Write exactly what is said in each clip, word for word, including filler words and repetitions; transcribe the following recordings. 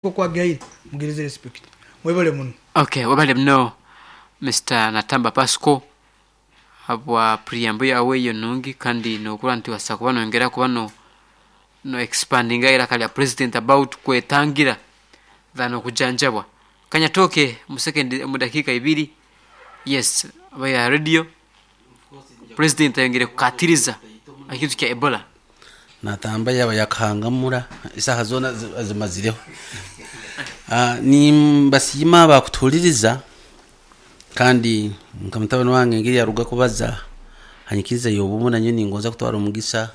Okwagihaire mugereze respect. Mwebale muno. Okay, webale muno Mister Natamba Pasco habwa preamble yawe eyo nungi, kandi nokurora nti wasa kuba nongera kuba no no expandinga iraka lya president about kwetangira than okujanjabwa. Kanyatoke mu second, mu dakiika ibiri. Yes, aba radio president ayongere kukatiriza ekintu kya Ebola. Natamba yaba yakahangamura isaha zoona zi- azimazireho. Ah, nimbasiima bakutuhuririza, kandi nka mutabani wange ngeri yaruga kubaza hanyikiriza yobumu, nanyo ningonza kutwara omugisa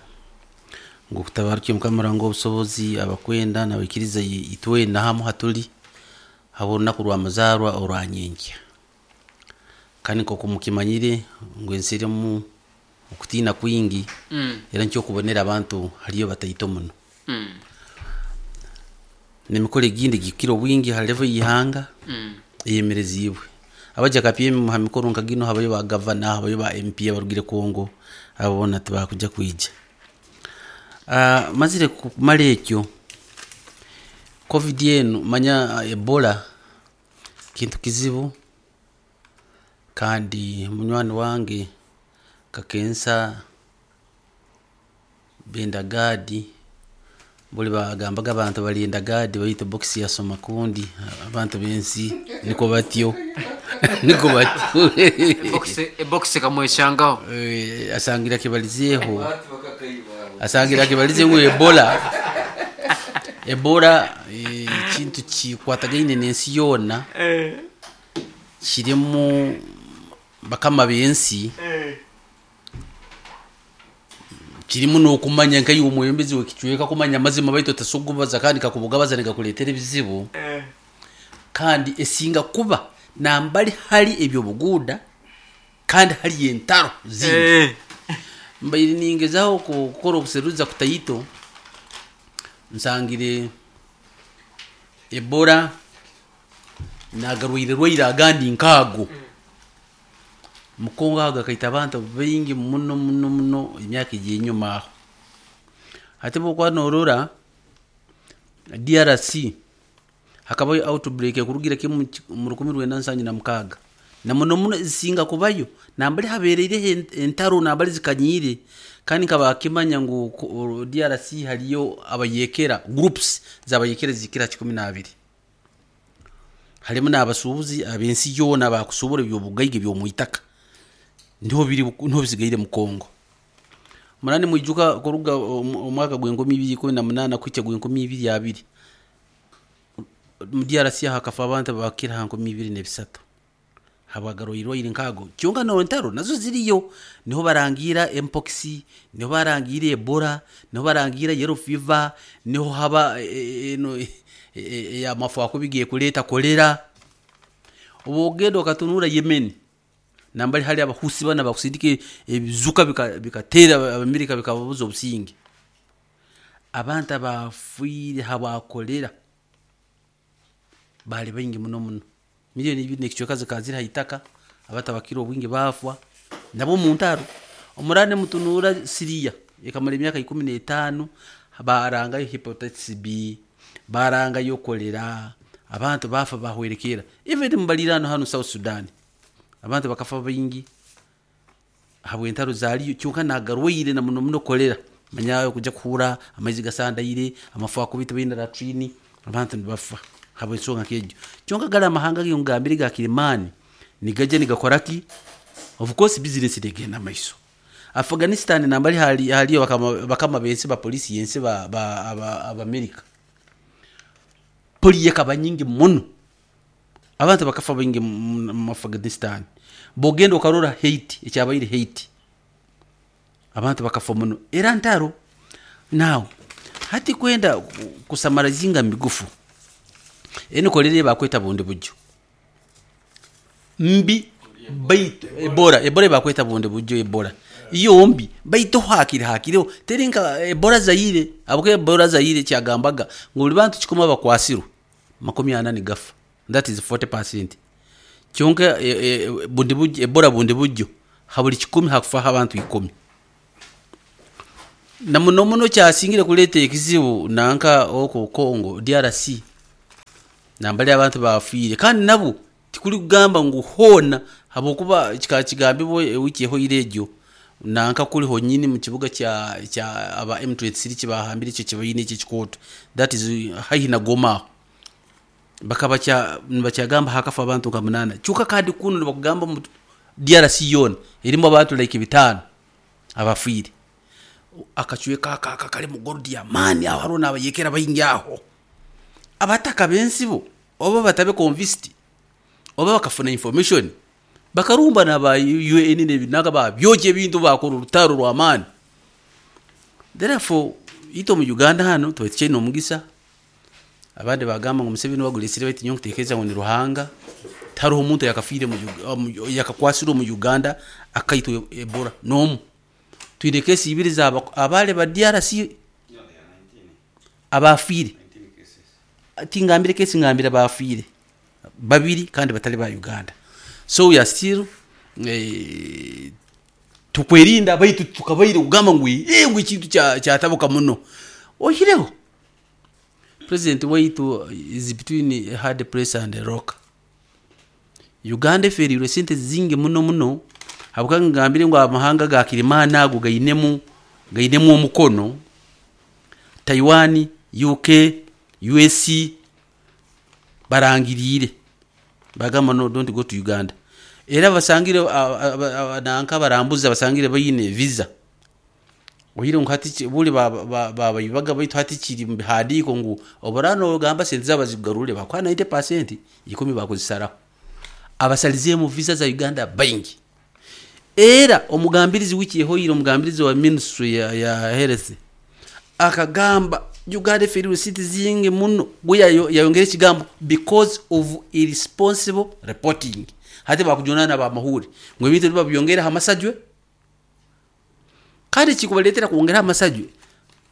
ngu kutabarukye Mukama Ruhanga obusobozi abakwenda nabikiriza itwena hamu hatuli habw'orunaku rwa muzaarwa orwa nyenkya. Kandi nk'oku mukimanyire ngu ensi erimu okutiina kwingi, mm. era nikyo okubonera abantu hariyo bataito muno Mm. n'emikoro egindi gikira obwingi ha level y'ihanga Mm. eyemereziibwe. Abaja kapyemi ha mikoro nka gino habayo ba gavana, habayo ba M P abarugire Kongo, abo boona tibakuja kwija. uh, mazire kumara ekyo COVID enu, manya Ebola kintu kizibu. Kandi munywani wange kakensa benda gadi, buli bagambaga abantu balinda gadi, baitu box yasoma kundi abantu bensi niko batyo, niko batyo. Ebox, ebox kamweshangaho. Eh, asangira kibalizeeho, asangira kibalize ngu Ebola, Ebola eh, kintu kikwatagaine n'ensi yoona, kirimu bakama b'ensi, kirimu n'okumanya nkaiwe omwebembezi w'ekicweka kumanya amazima, baitu otasokubaza kandi kakubugabaza nigakuleetera ebizibu. Kandi esinga kuba nambali hali ebyobuguuda kandi hali entaro zingi. Eh. Mbaire ningezaho ku- kukora obuseruza kutaito, nsangire Ebola nagarwaire rwaire agandi nkaago mukongo, ago gakaita abantu baingi muno muno muno emyaka egyenyuma aho. Hati bwokuba norora D R C hakabayo outbreak ekurugira kimu mu rukumi rwenda nsanju na mukaaga, na muno muno zisinga kubayo nambali habereireho en- entaro, nambali zikanyiire. Kandi nkabakimanya ngu ku- D R C hariyo abayekera, groups zabayekera zikira kikumi n'abiri, harimu n'abasuubuzi ab'ensi yoona bakusubura ebyobugaiga eby'omwitaka, niho biri, niho bisigaire mu Kongo. Murani mwijuka kuruga omu- omwaka gw'enkumi ibiri ikumi na munaana kuhikya gw'enkumi ibiri abiri, mu D R C hakafa abantu bakira ha nkumi ibiri n'ebisatu habwagarwairwaire nkago. Kyonka no ntaro nazo ziriyo, niho barangira mpox, niho barangira Ebola, niho barangira yellow fever, niho haba eh, eno eyamafu akubigiye kuleta kolera. Obu ogenda okatunura Yemen, nambali hali abahusi bana bakusindika ebizuka bika- bikateera Abamerika, bikababuza obusinge. Abantu abafiire habwakolera bali baingi muno muno, miliyoni ibiri nekicweka zikaba ziri haitaka, abantu abakira obwingi baafwa nabo mu ntaro. Omurande mutunura Siriya ekamara emyaka ikumi n'etaano, barangayo hepatitis B, barangayo kolera, abantu bafa bahwerekera. Even mubalirano hano South Sudan abantu bakafa baingi habwentaro zaliyo. Kyonka nagarwaire na muno muno kolera, manyayo kuja kuhura amaizi gasandaire, amafu akubita, baina latrini, abantu nibafa habwensonga nk'egyo. Kyonka gali amahanga geyo ngambire ga kirimani nigaja nigakora ki? Of course business negenda maiso. Afghanistan nambali hali haliyo bakama, bakama bensi ba polisi yensi ba, ba, aba, Abamerika, poli yakaba nyingi muno, abantu bakafa baingi mu mu Afghanistan. Bogenda okarora Haiti, ekyabaire Haiti, abantu bakafa muno, era ntaro. Now hati kwenda ku- kusamarazinga migufu, eno kolera bakweta bundi bujjo mbi, baitu Ebola, Ebola bakweta bundi bujjo. Ebola iyo mbi, baitu hakiri hakiriho teri nka Ebola Zaire. Abuke Ebola Zaire kyagambaga ngu buli bantu kikumi abakwasirwe, makumi ana nigafa, that is forty percent. Kyonka e, e, bundi bujjo, Ebola bundi bujjo, ha buli kikumi hakufaho abantu ikumi. Na muno muno kyasingire kuleta ekizibu nanka oko Congo D R C. Nambali abantu bafiire kandi nabo tikuri kugamba ngu hoona habwokuba kikaba kigambibwa ewiki ehoire egyo nanka kuri honyini mu kibuga kya kya aba M twenty-three kibahambire ekyo kibaine ekyo ekikooto, that is haihi na Goma aho. Bakaba kya nibakyagamba hakafa abantu nka munaana. Kyonka kandi kunu nibakugamba mu D R C yoona erimu abantu like bitaano abafiire. Akacweka aka aka kari mu gold ya maani aho hariho n'abayekera baingi aho. Abataka b'ensibo oba batabe convinced oba bakafuna information bakarumba na ba U N n'ebinaga babyokya ebintu bakora orutaro rw'amaani. Therefore itwe mu Uganda hano tuba tukyaine omugisa. Abandi bagamba ngu Museveni waguresire baitu nyowe nkutekereza ngu ni Ruhanga. Tihariho omuntu yakafiire mu Ug-, mu-, yakakwasirwe omu Uganda akaitwa Ebola n'omu. Twine kesi ibiri za abaale ba D R C abafiire. Tingambire kesi, ngambire abafiire babiri kandi batali ba Uganda. So we are still, eh, tukwerinda baitu tukabaire kugamba ngu eh, ngu ekintu kya-, kyatabuka muno. Ohireho President waitu is between a hard place and a rock. Uganda eferirwe sente zingi muno muno habwa ngambire ngu amahanga ga Kirimana ago gainemu, gainemu omukono. Taiwan, U K, U S C barangirire bagamba no, don't go to Uganda. Era basangire, a, a, a, nanka barambuza basangire bayine visa. Ohire ngu hati buli ba, ba, ba, bayibaga baitu hati kiri mu bihandiiko ngu oburano ogamba sente zabo zigarure bakwa ninety percent ikumi bakuzisaraho. Abasalize mu visa za Uganda baingi. Era omugambirizi wiki ehoire omugambirizi wa ministry ya, ya health akagamba Uganda eferiwe city zingi muno gwe yayo-, yayongera ekigambo because of irresponsible reporting. Hati bakujunana ba mahuri ngo ebintu nibabyongera hamasajwe kandi kikubaletera kwongera amasajwe.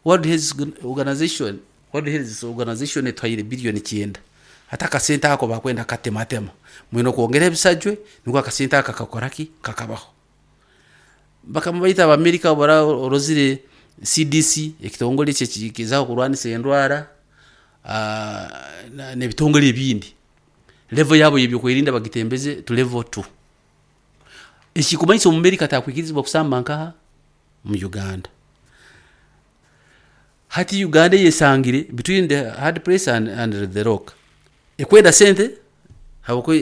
World Health Organization, World Health Organization etwaire billion kyenda. Hata akasente ako bakwenda katematema mwino kwongera ebisajwe niko akasente aka kakoraki kakabaho. Bakamubaita Abamerika bara orozire C D C ekitongole kye kikizaho kurwanisa endwara, ah, na, n'ebitongole ebindi. Level yabo y'ebyokwerinda bagitembeze to level two. Ekikumanyisa Omumerika atakwikirizibwa kusamba nkaha mu Uganda. Hati Uganda yesangire between the hard place and, and the rock. Ekwenda sente habwo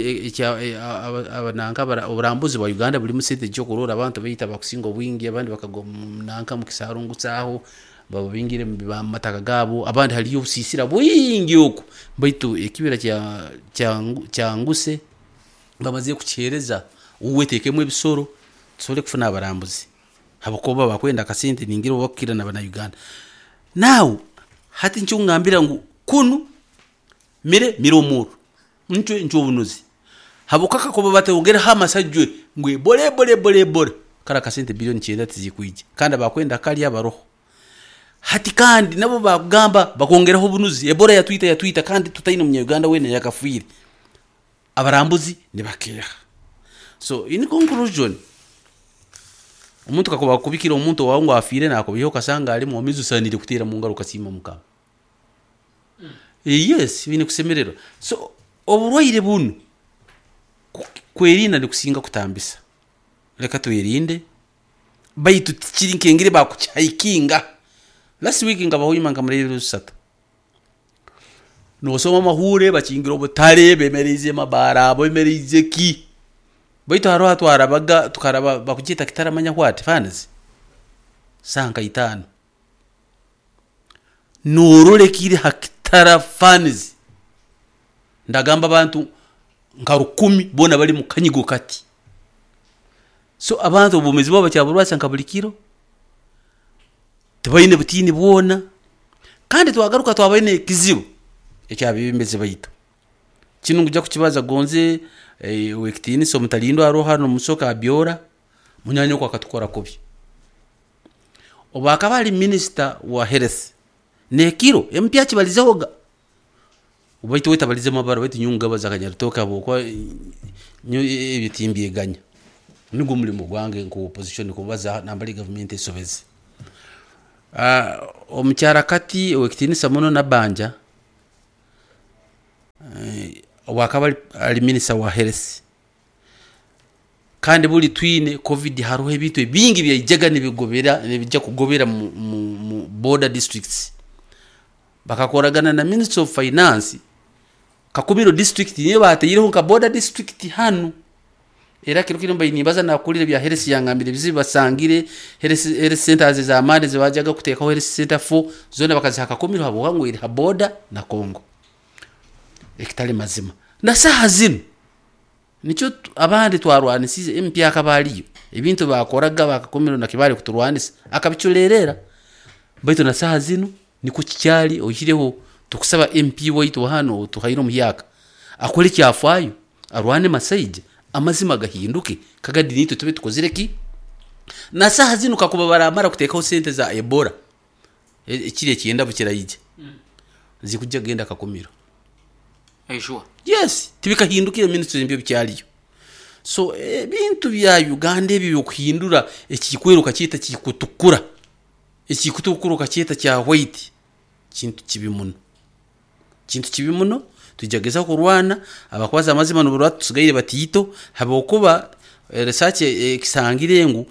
abananka oburambuzi bwa Uganda buri mu sente gyo kurora abantu bayita bakusinga obwingi abandi bakagwa nanka mu kisarungu tsaho babingire mu mataka gabo abandi haliyo obusisira bwingi oku baitu ekibira kya kyanguse bamaze kukyereza uwetekemu ebisoro tusobole kufuna abarambuzi habakoba bakwenda akasente ningira bakukira na bana Uganda. Now hati ncho ngambira ngu kunu mire miromuru ncwe ncho obunuzi habukaka kuba batewongera hamasajwe ngwe bole bole bole bole kara kasente bilioni kyenda tizikwije kandi abakwenda kali abaroho hati kandi nabo bagamba bakongeraho obunuzi Ebola ya Twitter ya Twitter kandi tutaine mu Uganda wene yakafwire abarambuzi ne bakeha. So in conclusion omuntu kakuba kubikira omuntu wawe ngo afire nakubiho kasanga ali mu mizu sanire kutera mu ngaruka sima mukama. Mm. E yes bine kusemererwa. So oburwaire bunu kwerinda ni kusinga kutambisa. Leka twirinde baitu tikiri nkengire bakuchaikinga. Last week ngaba hoyima ngamurere rusatu. Nosoma mahure bakingira obutare bemereze mabara bemereze ki. Baitu haro hatwarabaga tukaraba bakugita kitaramanya what fans. Sanka itano. Norole kiri hakitara fans. Ndagamba abantu nka rukumi bona bali mu kanyigo kati. So abantu obumezi babo kyaburwasa nka buli kiro. Tubaine butini bwona. Kandi twagaruka twabaine kizibu ekyabibembezi baitu. Kino nguja kukibaza gonze eh, wekitini so mutalindo aroha no musoka abyora munyanyo kwa katukora kubi. Oba akaba ali minister wa health nekiro M P akibalizehoga. Ubaitu weta balize mabara baitu nyunga bazakanya rutoka bo kwa nyo ebitimbye Nugwo mulimo gwange nko opposition kubaza nambali government esobeze. Ah, omukyara kati owekitinisa muno nabanja. Obwakaba ali minister wa health, kandi buli twine COVID, hariho ebintu ebingi byaijaga nibigobera, nibijja kugobera mu, mu, mu border districts. Bakakoragana na Ministry of Finance, Kakumiro district niyo bateireho nka border district hanu. Era kiro kiro mbaye nimbaza nakulire bya health, yangambire bizibu basangire health, health centers za amani zibajaga kutekaho health center four zona bakaziha Kakumiro habwa ngo iri ha border na Congo. Ekitali mazima na saha zino nikyo abandi twarwanisize M P akabaliyo ebintu bakoraga bakakumiro na kibali kuturwanisa akabiculerera, baitu na saha zino niko kikyali. Oyireho tukusaba M P waitu hano tuhairo muhyaka akole kyafayo arwane masaija amazima gahinduke kagadi nitwe tube tukozire ki. Na saha zino kakuba baramara kutekaho sente za Ebola ekiri ekyenda bukirayije mm. zikujja genda Kakumiro. Aishua. Yes, tibikahindukire ministry mbyo bikyaliyo. So ebintu bya Uganda ebi byokuhindura ekikweruka cyita kikutukura, ekikutukura kacyita kya white, kintu kibi muno, kintu kibi muno. Tujageza kurwana abakwaza amazima n'oburwa tusigaire batito habokuba research ekisangire ngu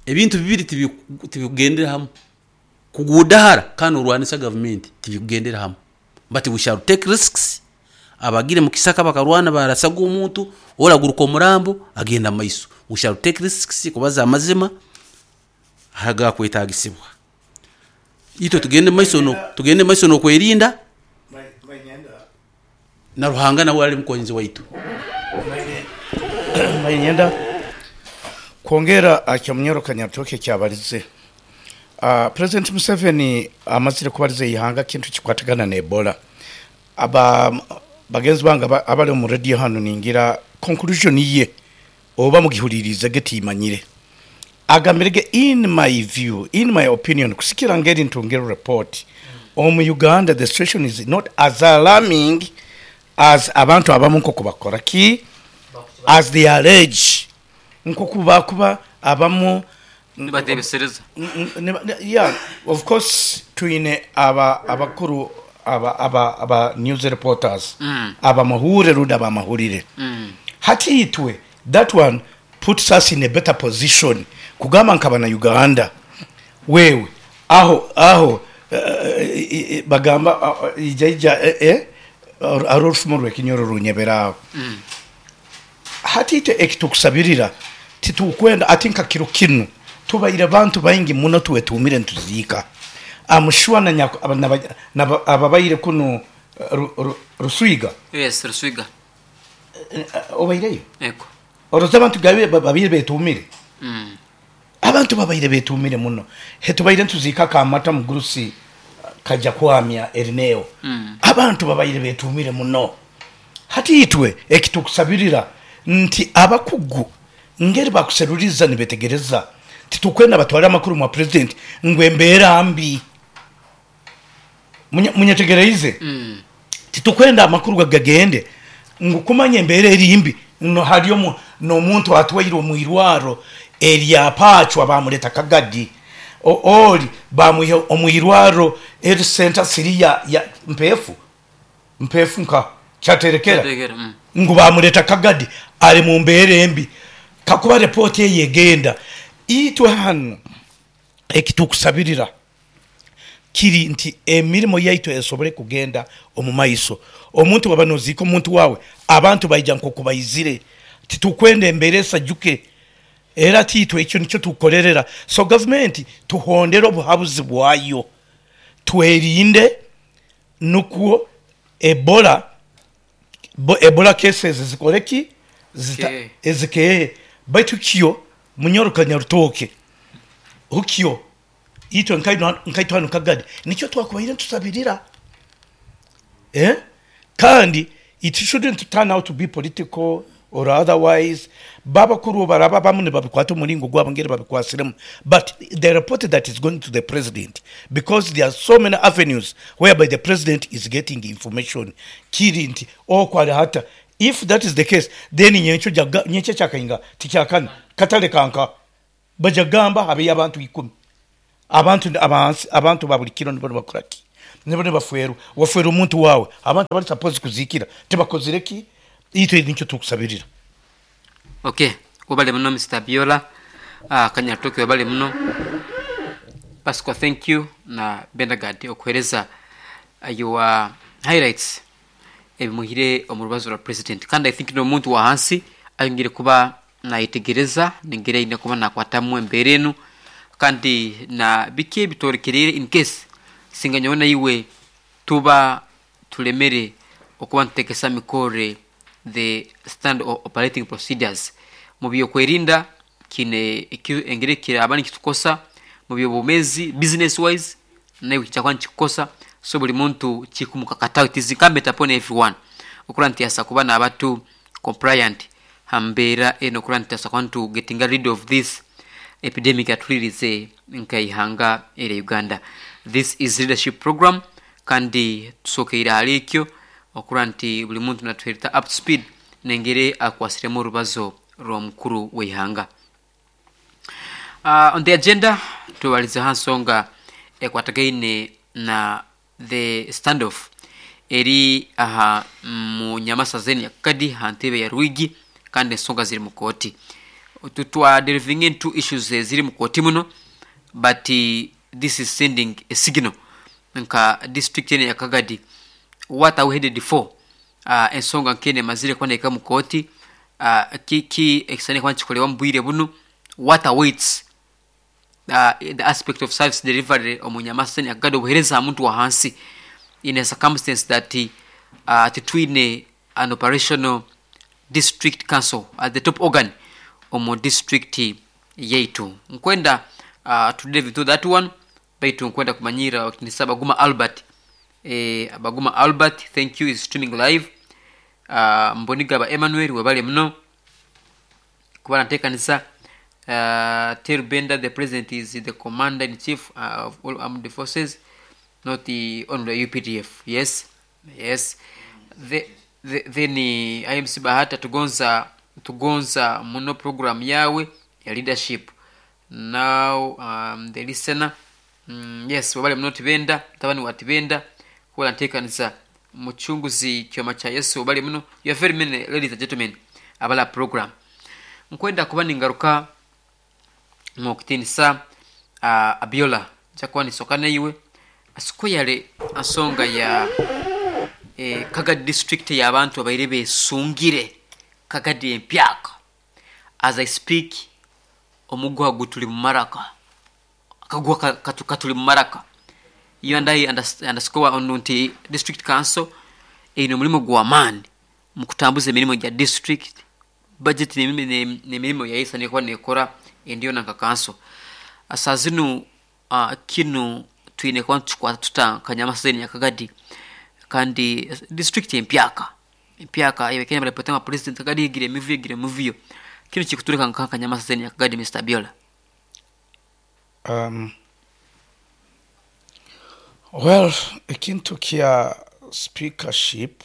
ebintu bibiri tibikugendera hamwe, kugudahara kandi urwanisa government tibikugendera hamwe. But we shall take risks. Abagire mu kisaka bakarwana barasaga omuntu oraguruka omurambo agenda maiso. We shall take risks kubaza amazima haga kwetagisibwa. Ito tugende maiso no tugende maiso no kwerinda na Ruhanga nawe ali mukonzi waitu. Mayenda kwongera akyamunyoro kanyatoke kyabalize. Uh, President Museveni amazire kubalize ihanga kintu kikwatagana na Ebola. Aba bagenzi banga abali mu radio hano ningira conclusion iye oba mugihulirize getimanyire. Agamirege in my view, in my opinion, kusikira ngeri ntongero report. Omu Uganda the situation is not as alarming as abantu abamu nko kubakora ki as they allege nko kubakuba abamu nibatebesereza. Yeah, of course twine aba abakuru aba aba aba news reporters mm. aba mahure ruda ba mahurire mm. hati itwe that one puts us in a better position kugamba nkabana Uganda wewe aho aho uh, bagamba uh, ija ija eh, eh Arolf Morwe kinyoro runyebera mm. hati ite ekitukusabirira titukwenda atinka kiro kinu tubaire abantu baingi muno tuwe tumire ntuzika amushwa na ababaire kuno Rusuiga. Yes, Rusuiga obaireyo eko oroza abantu gabe babire betumire mm. abantu babaire betumire muno hetubaire ntuzika kamata mugurusi kaja kwamya erineo mm. abantu babaire betumire muno hati itwe ekitukusabirira nti abakugu ngeri bakuseruriza nibetegereza titukwenda batwara amakuru mu president ngwe mbera mbi munyetegereize mm. titukwenda amakuru gagende ngo kumanye mbere erimbi no hariyo no muntu atwaire omwirwaro erya pachwa bamuleta kagadi oli bamuhe omwirwaro el center siria ya mpefu mpefu nka cyaterekera mm. ngo bamuleta kagadi ari mu mbere mbi kakuba report yegenda itwe hano ekitukusabirira kiri nti emirimo yaitu esobole kugenda omumaiso omuntu wabanoziko omuntu wawe abantu baija nko kubayizire titukwenda embere sajuke era titwe ekyo nicyo tukorerera. So government tuhondera obuhabuzi bwayo twerinde nuko Ebola bo, Ebola cases zikoreki ezike baitu kiyo munyoro kanyarutoke ukyo itwe nkaitwa kagadi nicyo twakubaire tusabirira eh kandi it shouldn't turn out to be political or otherwise. Baba kuru baraba bamune babikwata muringo gwabangere babikwasiremu, but the report that is going to the president, because there are so many avenues whereby the president is getting information kiri nti okwali hata if that is the case then nyencho jaga nyencho chakainga tikyakana katale kanka bajagamba habe abantu ikumi abantu abantu abantu babulikiro nibo bakuraki Nibo nibafwerwa, wafwerwa omuntu wawe, abantu abari supposed kuzikira tibakozire ki? Itwe nikyo tukusabirira. Okay, webale muno Mister Biola, uh, Kanyatoke webale muno, Pascal, thank you, na Benagad okuhereza your highlights ebimuhire omu rubazo rwa president. Kandi I think n'omuntu wa hansi ayongere kuba nayetegereza nengeri aine kuba nakwatamu embeera enu, kandi na biki ebitorekereire in case singa nyowe naiwe tuba tulemere okuba ntutekesa mikore the stand operating procedures mu byokwerinda kine engeri kiraba nikitukosa mu byobumezi business wise nawe kichakuba nikikukosa. So buli muntu kikumukakataho, it is incumbent upon everyone okura nti asa kuba n'abatu compliant hambeera eno, okura nti asa kuba ntu getting rid of this epidemic atulirize nkaihanga ere Uganda. This is leadership program, kandi tusokeire ahali ekyo okura nti buli muntu natuherita up to speed nengere akwasiremu orubazo rw'omukuru w'eihanga. Uh, on the agenda tubalize ha nsonga ekwatagaine na the standoff eri aha mu nyamasa zeni yakadi ha ntebe ya Rwigi, kandi ensonga ziri mu kooti. Tutwa delving into issues ziri mu kooti muno, but uh, this is sending a signal nka district ene ya Kagadi, what are we headed for? Uh, ensonga nkene mazire kwandika mu kooti, uh, kiki ekisane kwa nchikolewa mbwire buno, what awaits uh, the aspect of service delivery omu nyamasa ya Kagadi, obuhereza muntu wa hansi in a circumstance that uh, titwine an operational district council at the top organ omu district yaitu. Nkwenda uh, to delve into that one, baitu nkwenda kumanyira wakinisa Baguma Albert. Eh, Baguma Albert, thank you, is streaming live. Uh, Mboniga ba Emmanuel webale muno kuba natekanisa. Uh, Terubenda, the president is the commander in chief uh, of all armed forces, not the only U P D F. Yes, yes. The, the, then uh, I M C Bahata tugonza tugonza muno program yawe ya leadership. Now um, the listener, mm, yes, wabale muno Tibenda, tabani wa Tibenda kuba natekanisa muchunguzi kyoma cha Yesu wabale muno. You are very many ladies and gentlemen abala program. Nkwenda kuba ningaruka mukutinisa uh, Abiola chakuwa nisokana iwe asikoyale asonga ya eh, Kagadi district ya abantu abaire besungire Kagadi empyaka. As I speak omugwa gutuli mu maraka, akagwa katu, katuli mu maraka. You and I underscore on nti district council eno mulimo gwa maani mu kutambuza emirimu gya district budget n'emirimu ya isa nekuba nekora endiyo nanka council. Asa zinu uh, kinu twine kuba tukikwata tuta Kanyamaseni ya Kagadi, kandi district empyaka empyaka ebekene barapotanga president Kagadi igire emivuyo igire emivuyo kinu kikutureka nka Kanyamaseni ya Kagadi. Mister Biola. Um, well, ekintu kya speakership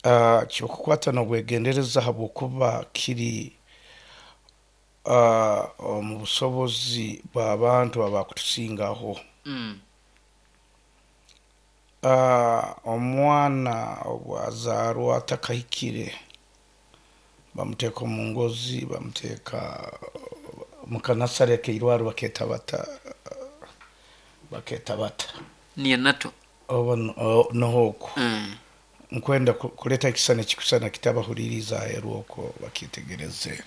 uh, kyokukwata n'obwegendereza habwokuba kiri uh, omu busobozi bw'abantu abakutusingaho. Mm. Uh, omwana obwazaarwa atakahikire bamuteeka omu ngozi, bamuteeka mu kanasare keirwaro baketa bata baketa bata niyo nato oba nohoko mm. Nkwenda kuleta ekisana kikusana kitabahuririza aheru bakitegereze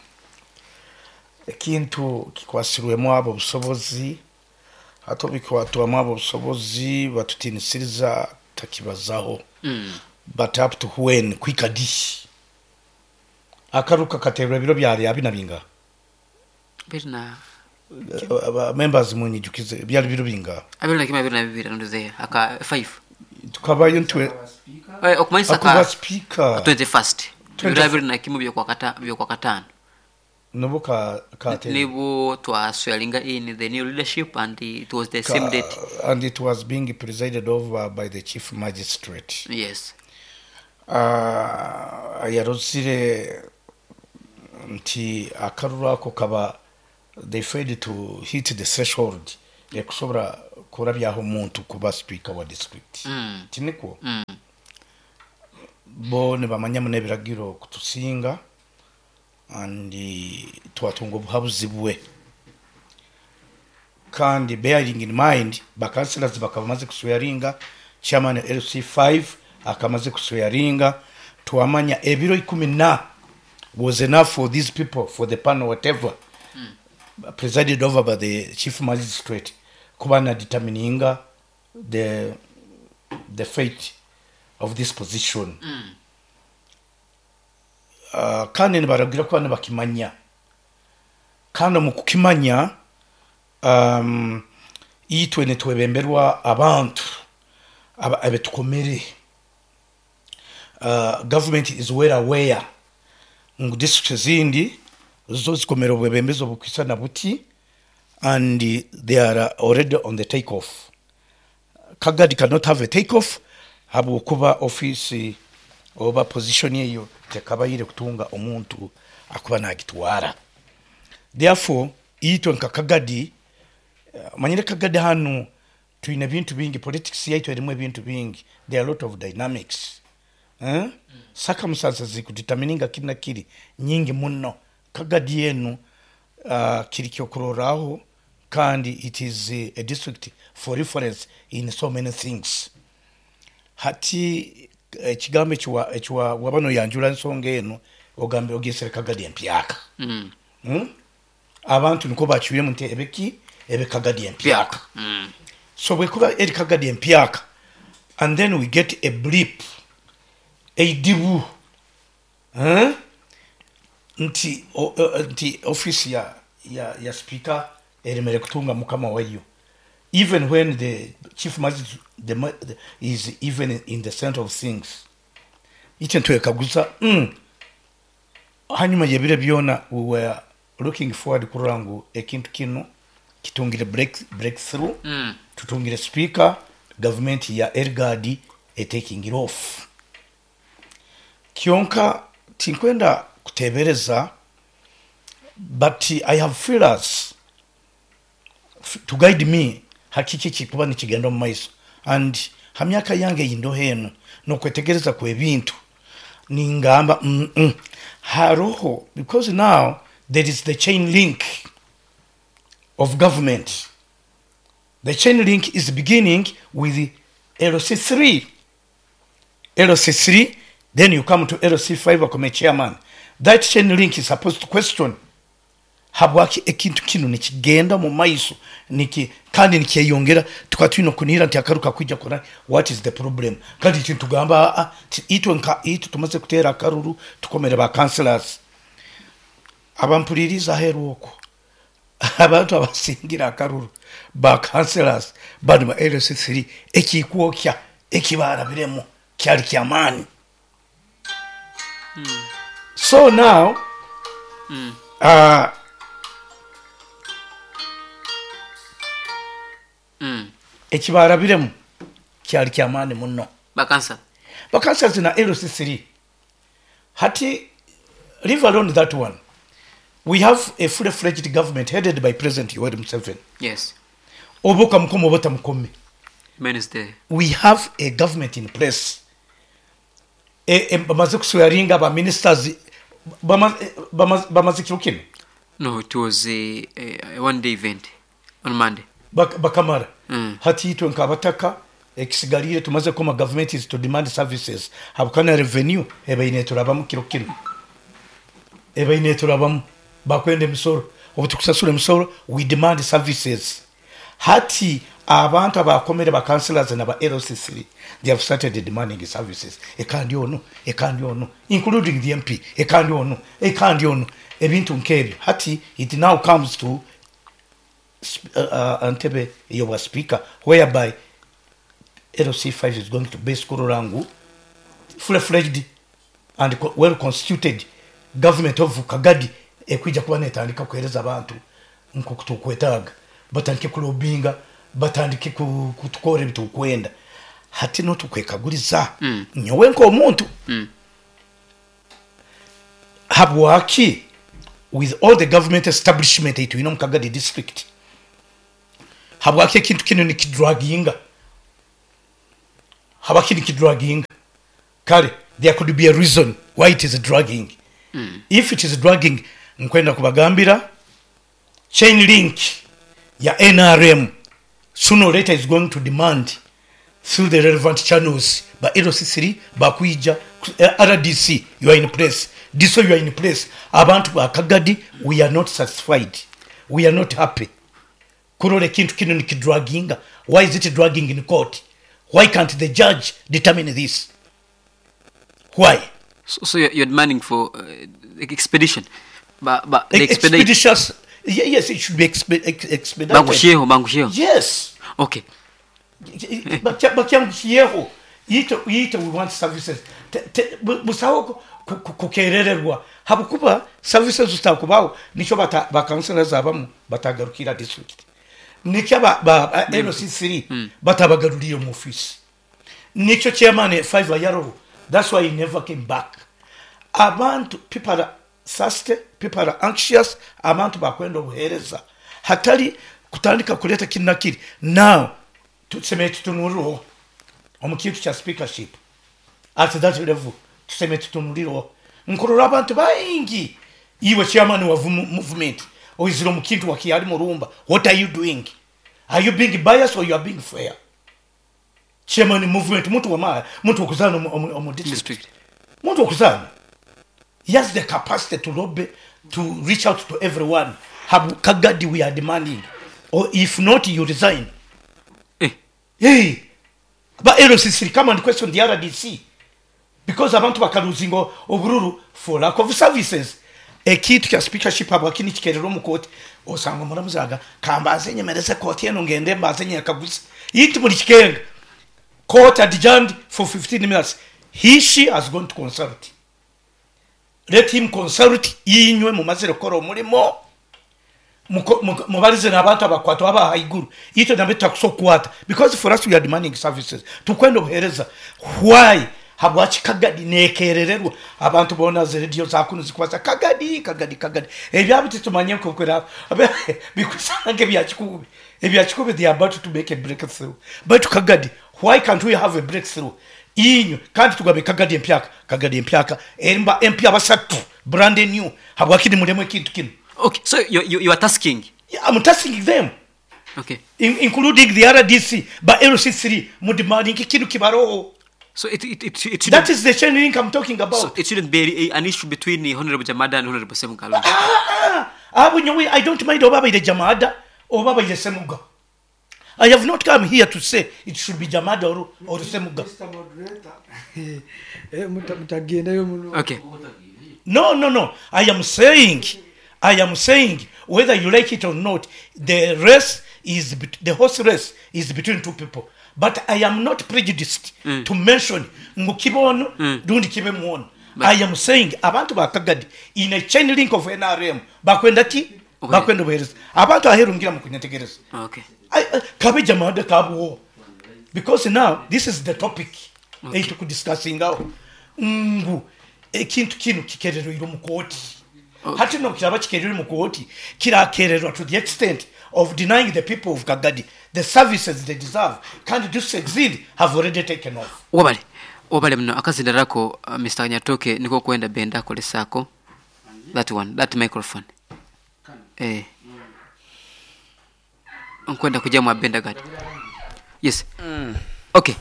ekintu kikwasirwemu abo busobozi hato bikwatwamu abo busobozi batutinisiriza takibazaho. Mm. But up to when kwikadishi akaruka katerwa biro byari abinabinga birna uh, members munyijukize byari biro binga abiri na kimwe abiri na bibiri nduze aka five tukabayo ntwe eh okumanisa ka speaker twenty-first biro abiri na kimwe byo kwa kata byo kwa katano nobo ka ka nibo twaswealinga in the new leadership and it was the ka, same date and it was being presided over by the chief magistrate. Yes. Uh, yarozire nti akaruru ako kaba they failed to hit the threshold ekusobora kurabyaho omuntu kuba speaker wa district. Mm. Tinikwo? Mm. Bo nibamanya muno ebiragiro kutusinga, and twatunga obuhabuzi bwe, kandi bearing in mind bacouncillors bakaba bamaze kuswearinga, chairman L C five akamaze kuswearinga, twamanya ebiro ikumi na was enough for these people, for the panel, whatever, mm. presided over by the chief magistrate, kuba na determininga the the fate of this position. Mm. uh, kandi nibaragira kuba nibakimanya, kandi omu kukimanya, um, itwe nitwebemberwa abantu aba- abetukomere. uh, government is well aware ngu district ezindi zo zikomere obwebembezi obukwisana buti, and they are already on the take off. Kagadi cannot have a take off habwokuba office oba position eyo tekabaire kutunga omuntu akuba nagitwara. Therefore itwe nka Kagadi, eh, manyire Kagadi hanu twine ebintu bingi, politics yaitu erimu ebintu bingi. There are a lot of dynamics, eh? mm. circumstances zikudetermininga kiri na kiri nyingi muno. Kagadi yenu uh, kiri kyokuroraho, kandi it is a, a district for reference in so many things. Hati ekigambo ekiwa ekiwa waba noyanjura ensonga eno, ogambe ogesere Kagadi empyaka. Mm. hmm? Abantu niko bacwiremu nti ebeki ebe Kagadi empyaka. Mm. So bwekuba eri Kagadi empyaka, and then we get a blip, eidibu, eh? nti o, o, nti office ya, ya, ya speaker eremere kutunga mukama wayo, even when the chief magistrate the, ma- the, is even in the center of things. Ite ntwekaguza, mm, hanyuma yebire byona we were looking forward kurora ngu ekintu kino kitungire break, breakthrough. Mm. Tutungire speaker, government ya Elgadi etaking it off. Kyonka tinkwenda kutebereza, but I have feelers f- to guide me hakiki kikuba nikigenda omu maiso, and ha myaka yange yindoho eno nokwetegereza kwebintu, ningamba mm -mm. haroho, because now there is the chain link of government. The chain link is beginning with L C three. L C three, then you come to L C five, akome chairman. That chain link is supposed to question habwaki ekintu kino nikigenda mu maiso, niki kandi nikyeyongera. Tukaba twine okunihira nti akaruka kwijja kora, what is the problem? Kandi kintu tugamba, ah, ti itwe nka itwe tumaze kuteera akaruru, tukomere ba councillors abampuliriza aheeru okwo, abantu abasingira akaruru ba councillors bano ba L C three, ekikwokya ekibarabiremu kyali kyamaani. So now uh, Mm. ekibarabiremu kyali kyamaani muno. Bakansala. Bakansala na L C three. Hati leave alone that one, we have a fully fledged government headed by President Yoweri Museveni. Yes. Oba okamukoma oba otamukome, Man the we have a government in place. E, e, bamaze kuswearinga ba ministers, bamaze bamaze- bamaze kiro kino. No, it was a, a, a one day event on Monday. Bak- bakamara Mm. Hati itwe nkabataka ekisigalire tumaze koma government is to demand services, habukana revenue ebaine turabamu kiro kino, ebaine turabamu bakwenda emisoro. Obu tukusasura emisoro, we demand services. Hati abantu abakomere ba councillors na ba L C three, they have started demanding services, ekandi ono, ekandi ono, including the M P, ekandi ono, ekandi ono, ebintu nkebyo. Hati it now comes to sp- uh, uh, ntebe ey'obwa speaker, whereby L C five is going to base kurora ngu fully fledged and co- well constituted government of Kagadi ekwija kuba netandika kuhereza abantu nkoku tukwetaaga, batandike kulobinga, batandike ku- kutukora ebitukwenda. Hati notukwekaguriza, Mm. nyowe nk'omuntu, Mm. habwaki with all the government establishment eitwine omu Kagadi district, Habwaki ekintu kinu nikidraginga? Habwaki nikidraginga? Kale there could be a reason why it is dragging. Mm. If it is dragging, nkwenda kubagambira chain link ya N R M sooner or later is going to demand through the relevant channels ba L C three bakuija R D C, you are in place, this way you are in place. Abantu ba Kagadi, we are not satisfied, we are not happy. Kurole kintu kino nikidraginga. Why is it dragging in court? Why can't the judge determine this? Why? So, so you're, you're demanding for uh, expedition. But, but the expeditious, yes, it should be expe expedited. Bangushiyeho, bangushiyeho. Yes. Okay. Bakyangushyeho. Ito ito we want services. Busaho kukerererwa. Habukuba services zitakubaho nicho bata ba councillors abamu batagarukira district. Nicho ba, ba L C three mm. batabagaruriye mu office. Nicho chairman five yaro. That's why he never came back. Abantu people are thirsty, people are anxious, abantu bakwenda obuhereza. Hatari kutandika kuleta kinakiri. Now tuseme tutunuriro omukintu cha speakership at that level, tuseme tutunuriro nkurora abantu baingi. Iwe chairman wa movement oiziro mukintu wakiyali murumba, what are you doing? Are you being biased or you are being fair? Chairman movement muntu wa ma muntu okuzana omu district, muntu okuzana, he has the capacity to lobby, to reach out to everyone. Habu Kagadi we are demanding, or if not you resign. Eh. Hey, but L C C come and question the R D C because abantu bakaluzingo obururu for lack of services. Ekintu kya speakership abakini kikerero mu court osanga muramuzaga kambaze nyemereze court eno ngende mbaze nyakaguze yiti muri kikenga. Court adjourned for fifteen minutes. He, she has gone to consult. Let him consult. Inywe mumazire koro mulimo mubarize n'abantu abakwata aba haiguru ito nambe takusokwata, because for us we are demanding services. Tukwenda obuhereza. Why habwachi Kagadi nekerererwa? Abantu bona radio zakuno zikwasa Kagadi Kagadi Kagadi ebyabo titumanye kokwera bikusange byakikubi ebyakikubi they are about to make a breakthrough. But Kagadi, why can't we have a breakthrough? Inyo kandi tugabe Kagadi empyaka Kagadi empyaka emba empya basatu brand new. Habwaki mulemo ekintu kino? Okay, so you, you, you are tasking. Yeah, I'm tasking them. Okay. In, including the R D C, but L C three, mudemanding kintu kibaro. So it it it, it that is the chain link I'm talking about. So it shouldn't be an issue between the Honorable Jamada and Honorable Semuga. Ah, ah, ah, I don't mind Obaba the Jamada or Obaba the Semuga. I have not come here to say it should be Jamada or or Semuga. Mister Moderator, okay. No, no, no. I am saying, I am saying, whether you like it or not, the race is the horse race is between two people. But I am not prejudiced mm. to mention Ngukibono, mm. Dundi Kibemuon. I am saying abantu ba Kagadi in a chain link of N R M bakwenda ki bakwenda buhereza abantu aherungira mu kunyetegereza. Okay. I kabe jamada kabuwo, because now this is the topic okay. Eitu discussing now. Ngu ekintu kinu kikerero iro mu koti. Okay. Hati no kiraba kikerero mu koti kirakererwa to the extent of denying the people of Kagadi the services they deserve. Can't do succeed have already taken off. Wabale wabale mno akazindarako uh, Mister Nyatoke niko kwenda benda kolesako that one, that microphone eh nkwenda kuja mwa benda gadi. Yes. Mm. Okay.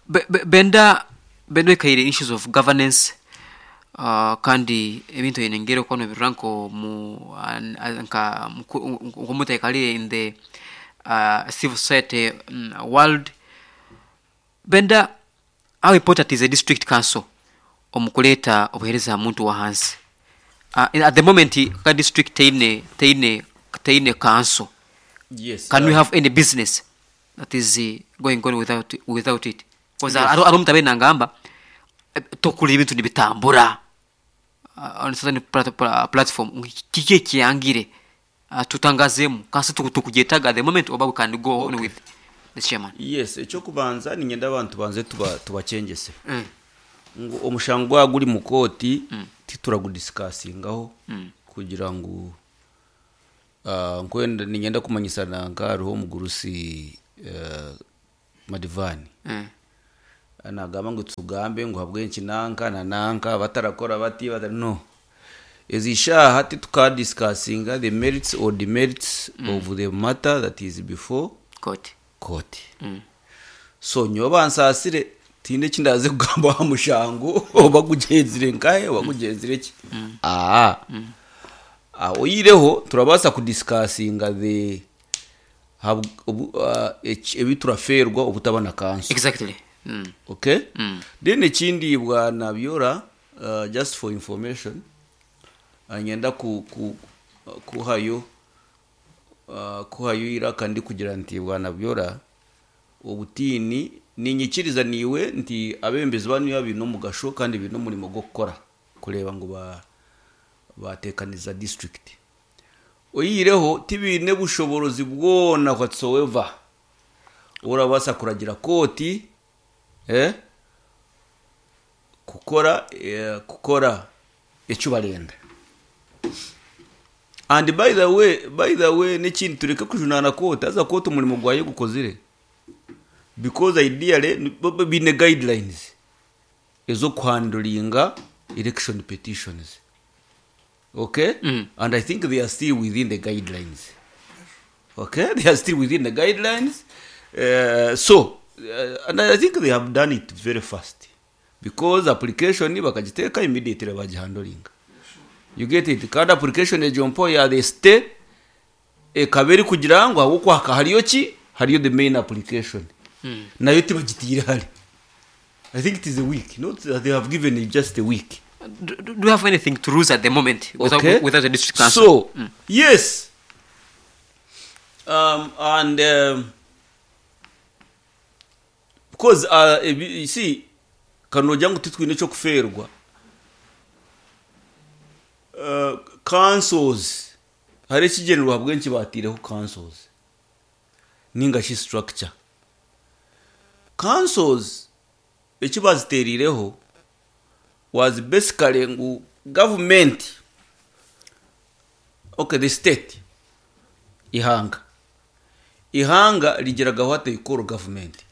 B -b benda benda kaire issues of governance uh, kandi ebintu enengero kwano biranko mu nka nkomutekalire in the uh, civil society um, world. Benda, how important is a district council omukuleta obuhereza muntu wa hansi? Uh, at the moment ka district teine teine teine council. Yes. Can uh, we have any business that is uh, going on without without it? Because yes. aro mutabe nangamba tokuli ebintu nibitambura uh, on certain plat platform kike kiyangire uh, tutangazemu kasi tukujetaga the moment oba we can go on with the chairman. Yes, ekyokubanza ningenda abantu banze tuba tubachengese. Mm. Ngo omushango guri mu koti mm. tituragudiscussingaho mm. kugira ngo Uh, nkwenda ninyenda kumanyisa nanka hariho omugurusi uh, Madivani. Mm. Nagamba ngu tugambe ngu habwenki nanka na nanka batarakora bati batara no ezi shaha titukadiscussinga the merits or demerits mm. of the matter that is before Court. court. Mm. So nyowe bansaasire tinde ekindaze kugamba aha mushango oba gugyenzire nkahe oba gugyenzire ki. Aa Ah, oyireho turabaasa kudiscussinga the hab- obu- ah, eki- ebi turaferwa obutaba na kanso. Exactly. Mm. Okay. Mm. Then ekindi bwana Byora, uh, just for information, uh, nyenda ku, ku, kuhayo uh, kuhayo iraka ndi kugira nti bwana Byora, obutiini ninyikiriza niwe nti abembezi banu biine omugasho kandi biine omurimo gw'okukora kureeba ngu ba batekaniza district. Oyireho tibiine bushoborozi bwona whatsoever urabaasa kuragira kooti eh, kukora eh, kukora ekyo barenda. And by the way by the way n'ekindi, tureke kujunaana kooti, haza kooti omurimo gwayo gukozire, because ideally ni- bo- bo biine guidelines ez'okuhandlinga election petitions, okay? Mm. And I think they are still within the guidelines, okay? They are still within the guidelines. uh, so uh, and I think they have done it very fast, because application bakagiteeka, immediately bagihandlinga, you get it? Kandi application egyo mpo ya the state ekaba eri kugira ngu ahabwokuhaka hariyo ki, hariyo the main application. Mm. Nayo tibagitiire hari, I think it is a week, not that they have given it just a week. Do, do do you have anything to lose at the moment without, Okay, without the district council? So Mm. yes, um, and um, because uh, ebi- you see, kanogira ngu titwine ekyokuferwa. uh, councils hari ekigendererwa bwenki batiireho councils ninga shi structure. Councils eki baziteerireho was basically ngu government, okay, the state, ihanga ihanga rigiraga what they call government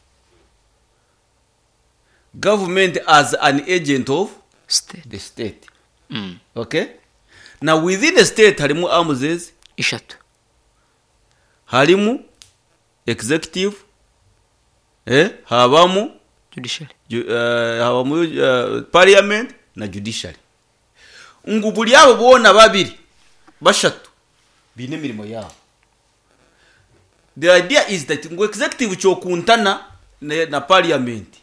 government as an agent of State. the state. Mm. Okay, now within the state harimu arms Ishatu. Harimu executive, eh, habamu Judiciary. ju- eh, habamu uh, parliament na judiciary, ngu buri abo boona babiri bashatu biine emirimo yabo. The idea is that ngu executive kyokuntana na, na parliament,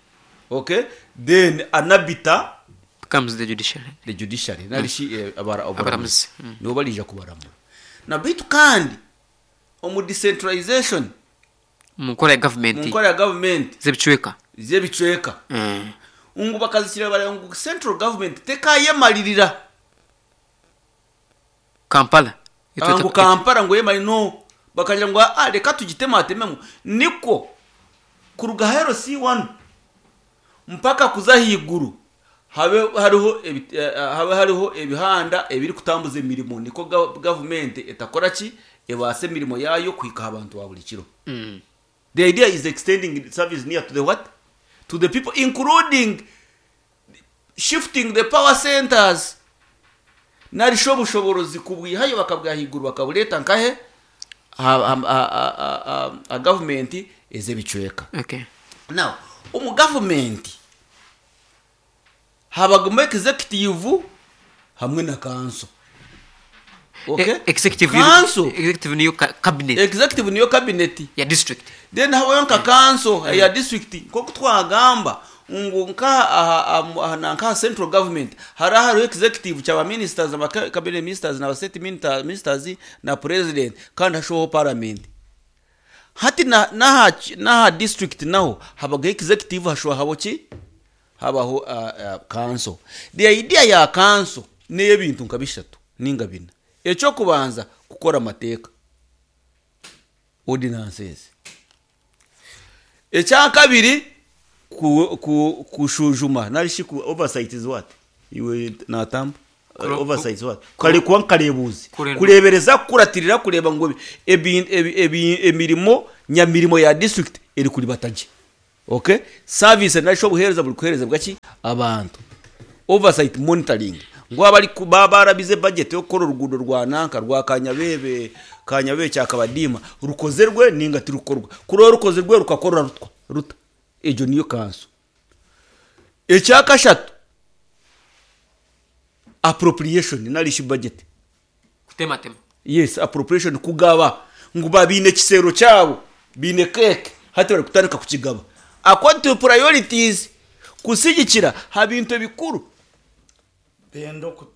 okay, then anabita Becomes the judiciary. The judiciary narishi eh, abara Abaramuzi. abaramuzi Mm. nibo barija kubaramura na bitu. Kandi omu decentralization, mu nkora ya mu government nkora ya government z'ebicweka z'ebicweka, Mm. ngu bakazikira bareba ngu central government tekayemalirira. Kampala. Ah, ngu Kampala ngu yemali no, bakagira ngu ah, reka tugitematememu niko kuruga hero C one mpaka kuza higuru habe hariho ebi- eh, habe hariho ebihanda ebiri kutambuza emirimo, niko ga- government etakora ki, ebaase emirimo yayo kuhika abantu ba buri kiro. Mm. The idea is extending service near to the what, to the people, including shifting the power centers, narisho obushoborozi kubwihayo bakabwahiguru bakabureeta nkahe ha- ha- ha- ha- ha- ha gavumenti ez'ebicweka. Okay. Now omu gavumenti habagamu executive hamwe na council, okay? E- executive Council. Executive niyo ca- cabinet. Executive niyo cabinet ya district. Then habayo nka council ya district, nkoku twagamba ngu nka aha- aha- aha na nka central government hari hariho executive cyaba ministers, aba cabinet ministers na state ministers, ministers na president, kandi hashoho parliament. Hati na naha naha district naho habaga executive, hashoho habo ki, habaho uh, uh, council. The idea ya council n'ebintu nka bishatu ninga bina. Ekyokubanza, kukora amateeka, ordinances. Ekyakabiri, ku, ku, kushujuma narishi ku oversight is what iwe natamba. Oversight what? Kare kuba nkarebuzi Kurenda. Kurebereza, kukuratirira, kureba ngu ebi- ebi- ebi- emirimo nyamirimo ya district eri kuribata gye, okay, service nasho obuheereza buri kuheerezebwa ki abantu. Oversight, monitoring ngo abari ku- baba barabize budget yo gukora urugudo rwa nanka rwa Kanyabebe, Kanyabebe cyakabadima rukozerwe ninga tirukorwa, kuri rukozerwe rukakora rutwa ruta, ejo niyo kanso. Ekyakashatu, appropriation narishi budget. Kutematema. Yes, appropriation, kugaba ngu babine ekisero kyabo, bine keke, hati bari kutandika kukigaba according to priorities, kusigikira ha bintu ebikuru. Benda oku-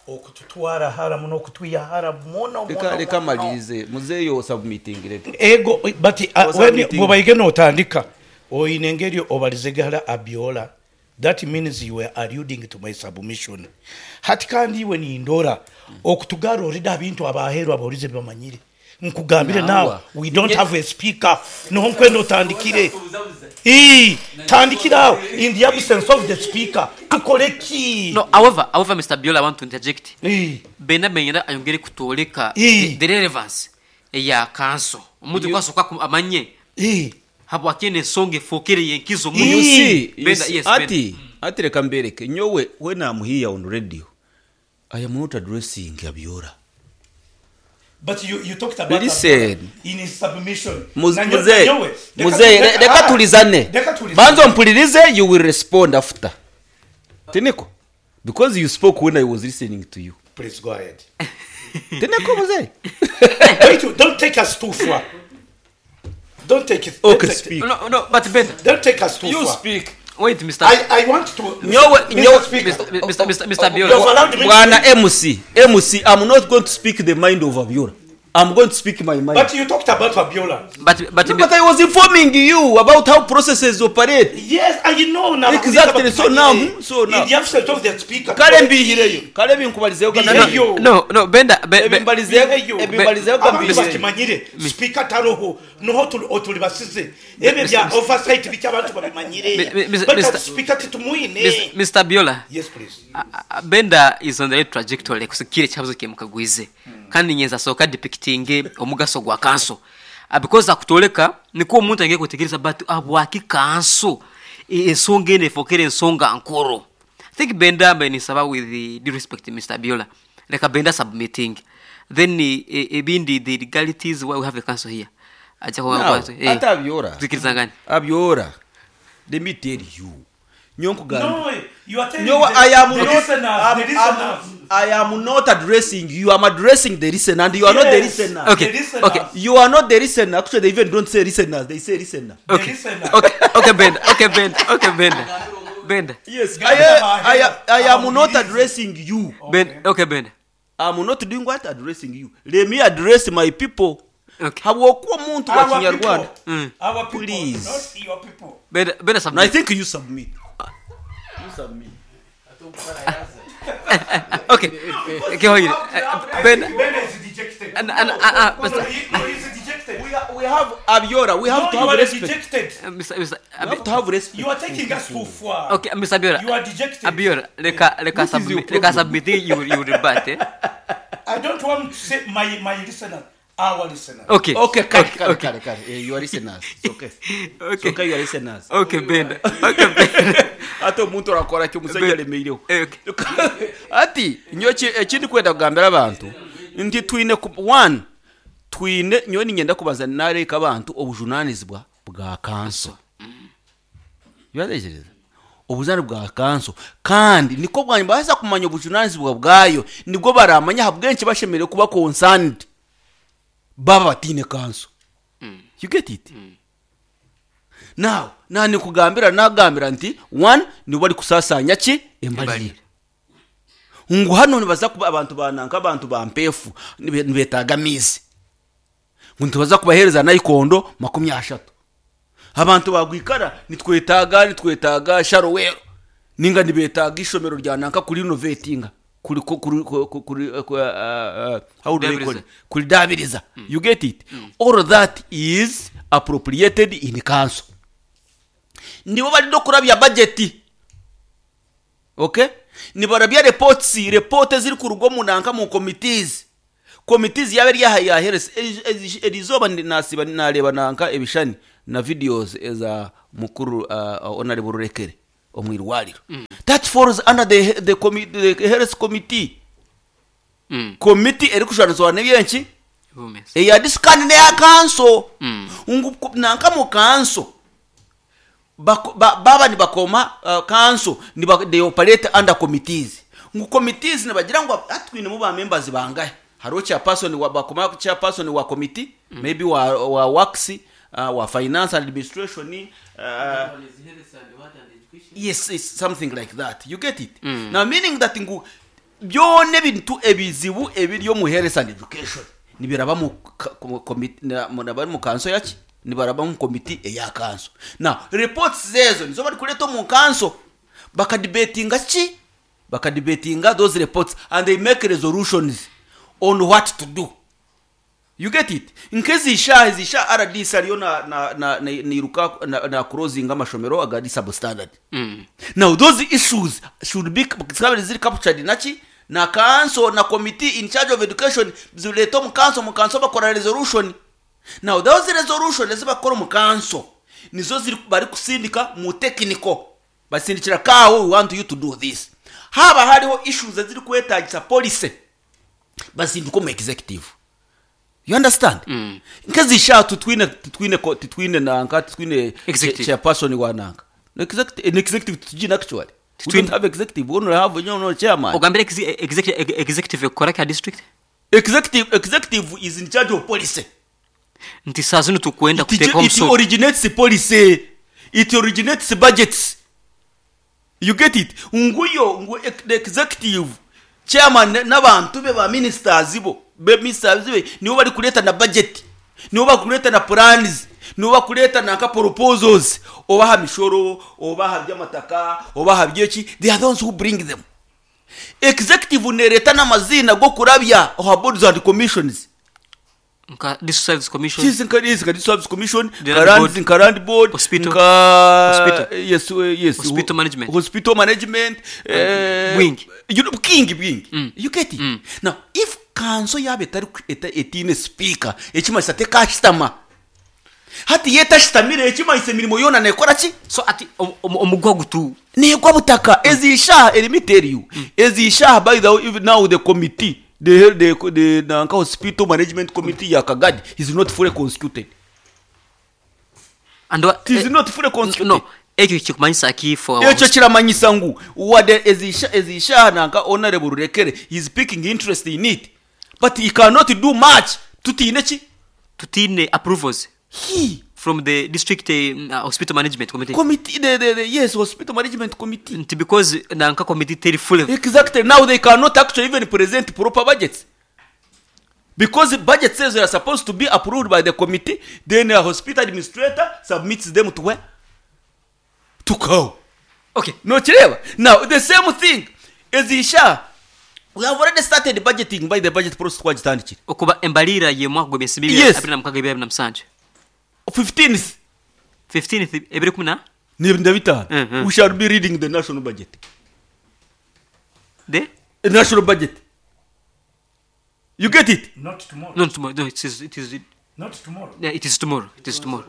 okututwara hara muno, okutwiha hara muno. Reka muno, reka muno. malirize muzeeyo submitting reka. Ego, but uh, Oza when meeting. bw'obaige n'otandika oyine engeri obalizegala Abiola, that means you were alluding to my submission. Hati kandi iwe nindora okutugara orida abintu abaheru aborize bamanyire nkugambire. Nawa. Now we don't have a speaker, niho nkwenda otandikire. Ii, tandikira awo in the absence of the speaker tukole ki? No, however however Mister Biola, I want to interject. Ii. Benda menyera ayongere kutwoleka Ii. the, the relevance eya kanso omuntu kwasooka ku- amanye Ii. habwaki ensonga efookere yenkizo muno. You see, you Benda, see, yes, Benda. ati ati reka mbereke nyowe, when I'm here on radio I am not addressing Abiola. But you, you talked about Listen. Abiola in his submission. Muz- Na nyo- muzeyi na nyowe, reka- muzeyi reka- reka ah, tulizane. Reka tulizane. Banza ompulirize, you will respond after, tiniko, because you spoke when I was listening to you. Please go ahead. Tiniko, muzeyi? Wait, don't take us too far. Don't take it. Okay, don't take, speak. No, no, but Benda, Don't take us too You far. speak. Wait, Mister I, I want to. Nyowe- Mister nyowe- Speaker, Mister Mister Mister Mister You've Biola. allowed me to Bwana speak. M C, M C, I'm not going to speak the mind of Abiola, I'm going to speak my mind. But you talked about Abiola. But but No, but I was informing you about how processes operate. Yes, I know now. Exactly, so now, hmm, so now. In the absence of the speaker. Kale mbihireyo, kale binkubalizeyo. Bihireyo. No, no, Benda, be, be, Bihireyo. Ebimbalizeyo. Abantu Gambihireyo. bakimanyire speaker taroho noho tuli- otulibasize ebyo bya oversight biki abantu babimanyire. Mi- mi- But Mister speaker titumwine. Mister Biola. Yes, please. A- a- Benda is on the right trajectory kusikira ekihabuzo kye mukagwize, kandi nyenza asooka depicting omugaso gwa kanso. Ah, because akutoleka niko omuntu ainge kutegereza, but abwaki kanso E- ensonga eno efookere ensonga nkuru. I think Benda mbe nisaba, with the due respect, Mister Biola, leka Benda submitting, then eh, eh, ebindi, the legalities why we have a council here, ajja Now, kuba eh, ate Abiola. tukirizangane. Abiola, let me tell you, nyo nkugamba. No, you are telling Nyo, the, I am the not listeners, I'm, the I'm, listeners. I am not addressing you, I'm addressing the listener, and you are not the Yes. listener. Okay, The listeners. okay. You are not the listener. Actually, they even don't say listeners, they say listener. The Okay. listeners. okay okay Benda, okay, Benda, okay, Benda, Benda. Yes, I, I, I, I am not addressing you. Benda, okay, Benda. I'm not doing what? Addressing you. Let me address my people. Okay. Habwokuba omuntu wa Our Kinyarwanda. people. Mm. Our people, Please. not your people. Benda, Benda And I submit. think you submit. You submit. Okay, kehoire Benda. Benda is dejected. And- and- ah, ah, No, Mister he, no, he's dejected. We, are, we have Abiola. We have No, to you have are respect. dejected. Uh, Mister Mister We have to have respect. You are taking us too far. Okay, Mister Abiola. You are dejected. Abiola, leka leka What is your submit, leka problem? submit, you you rebut, eh? I don't want to say my my listener, our listener. Okay. Okay, kare, okay, kare, okay. kare, kare. Eh, you are listeners. It's okay. It's Okay. okay, you are listeners. Okay, Benda. Okay, Benda. Ate omuntu orakora ki omusajja alemeireho. Eh, okay. Ati nyo ekindi kwenda kugambira abantu nti twine ku- one, twine nyowe ninyenda kubaza nareka abantu obujunanizibwa bwa kanso, uratekereza obujunanizibwa bwa kanso, kandi niko bwanyuma baza kumanya obujunanizibwa bwayo, nibwo baramanya habwenki bashemereire kuba concerned baba batine kanso. You get it? Now nani kugambira, nagambira nti one, nibo bari kusasanya ki embalire ngu hano nibaza kuba abantu bananka, abantu bampefu nibe- nibetaaga amizi, ngu nitubaza kubahereza nayikondo makumi ashatu, abantu bagwikara nitwetaaga nitwetaaga sharowero, ninga nibetaaga ishomero rya nanka kuri renovatinga, kuri kuri kuri kuri ku- uh, uh, how do they call it? Kuridabiriza. You get it? All that is appropriated in council. Nibo bari no kurabya budget. Okay, nibarabya reports, report eziri kuruga omu nanka mu committees, committees yaba eri aha ya health. Erizoba nasiba nareba nanka ebishani na videos eza mukuru uh, Honorable Rurekere omu irwariro. That falls under the, the, commi- the health committee. Mm. Committee erikushwanizwa n'ebyenki Bumeze. eya disikani neya kanso. Mm. Ngu nanka mu kanso Bako- ba- baba nibakoma uh, kanso niba, they operate under committees, ngu committees nibagira ngu atwinemu ba members bangahe, hariho chairperson wa bakoma chairperson wa committee, mm. maybe wa, wa works, uh, wa finance and administration, uh, yes, it's something like that, you get it? mm. Now meaning that ngu byone bintu ebizibu ebiri omu health and education nibiraba mu ka- mu komiti- na- mu- nabari mu kanso yaki, nibaraba mu komiti eya kanso. Now reports zezo nizo bari kuleta omu kanso, bakadibetinga ki, bakadibetinga those reports and they make resolutions on what to do, you get it? Nk'ezishaha ezisha R D C ariyo na na na na niruka na, na closing amashomero agari substandard. Mm. Now those issues should be zikaba ziri captured naki na council na committee in charge of education, zileta mu council, mu council bakora resolution. Now those resolution ezibakora mu council nizo ziri bari kusindika mu technical, basindikira kawo, we want you to do this. Haba hariho issues eziri kwetagisa policy, basindika mu executive, you understand? Mm. Nk'ezisha tutwine tutwine ko- tutwine nanka tutwine Executive. Chairperson wa nanka. No, executive, an executive tujina actually. We Tutwine. don't have executive, we only have, you know, chairman. Ogambire exe- executive executive ekora ka district. executive executive is in charge of policy. Nti saa zino tukwenda it, kuteeka it omusolo. originates policy, it originates budgets, you get it? Nguyo ngu the executive chairman n'abantu be ba ministers bo be ministers be nibo bari kuleta na budget, nibo bari kuleta na plans, nibo bakuleta nanka proposals, obaha mishoro, obaha by'amataka, obaha byeki, they are those who bring them. Executive nereta n'amazina go kurabya oha boards and commissions. Nka district service commission. Yes, nka yes, nka service commission, The nka land land board. nka land board, Hospital. nka Hospital. Yes, uh, yes, Hospital management. Hospital management, eh, Wing. You know, king wing. Mm. You get it? Mm. Now, if kanso yabe etari eta, etine speaker, ekimanyisa tekashitama. Hati yetashitamire ekimanyisa emirimo yona nekora ki? So ati om- om- omugwa gutu Negwa butaka. Ezishaha, let me tell you, ezishaha, by the way, even now the committee, the the the nanka hospital management committee ya Kagadi is not fully constituted. And wa- It is eh, not fully constituted. no, ekyo kikumanyisa ki for Ekyo kiramanyisa ngu wadde ezisha ezishaha nanka Honorable Rurekere is picking interest in it, but he cannot do much tutiine ki? Tutine approvals He from the district uh, hospital management committee. Committee, the, the, the, yes, hospital management committee. Nti because nanka committee teri fully Exactly. Now they cannot actually even present proper budgets because the budget says they are supposed to be approved by the committee, then a hospital administrator submits them to where? To C A O. Okay. Nokireba? Now the same thing ezisha, we have already started budgeting by the budget process twagitandikire. Okuba embalira ye mwaka gwa emyezi bibiri Yes. abiri na mukaga ebiri na musanju. fifteenth. fifteenth ebiri kumi na na bitaano. Mhm. We shall be reading the national budget. The The national budget, you get it? Not tomorrow. No, tomorrow. No, it is it is Not tomorrow. Yeah, it is tomorrow. It is tomorrow.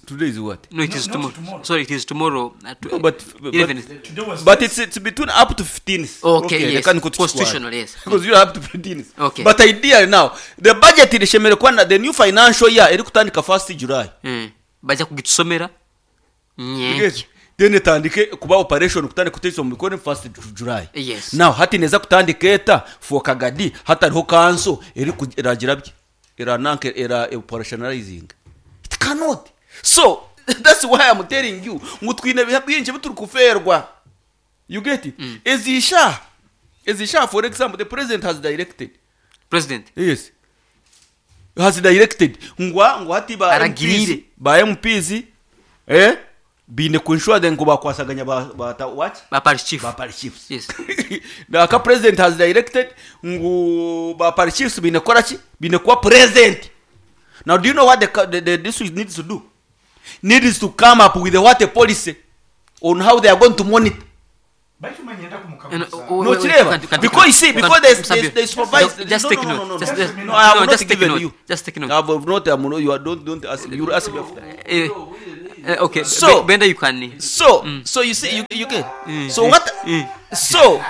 Today is what? No, it No, is not tomorrow. tomorrow. Sorry, it is tomorrow at No, but, but, eleven. Today was but it's, it's between up to fifteenth. Okay, yes. Reka niko tukitwara. Constitutional, yes. Because you have to fifteenth. Okay. But ideally now the budget irishemere kuba the new financial year eri kutandika first July. Mm. Bajja kugitusomera You nyenki. get? Then etandike kuba operation, kutandika kuteesa omu mikono first July. Yes. Now hati neza kutandika eta for Kagadi hatariho kanso eri ku- eragira bye erananke era operationalizing, it cannot. So that's why I'm telling you ngu twine biha byingi bituri kuferwa, you get it? Ezisha ezisha for example, the president has directed. President. Yes, has directed ngwa ngwa hati ba Aragirire. M Ps, ba M Ps eh bine kuensure ngo bakwasaganya ba, ba ta, what? Ba parish chief. Ba parish chiefs. Yes. Naka president has directed ngu ba parish chiefs bine kora ki, bine kuba present. Now do you know what the, ca- the, the district needs to do? Needs to come up with a what, a policy on how they are going to monitor. Baitu manyenda No, kumukaguza. wait, No, wait, Chireva, wait, can't- because you see, can't- because there's, Sabio, there's, there's supervised. Just no, take no, no, note. no, no. Just, just, No, I have no, not just take given note. you. Just take note. I have not. I'm not. You are, don't don't ask. You will ask me after. Eh, eh, okay. So- Be- Benda, you can. So so you see you you get. So what? So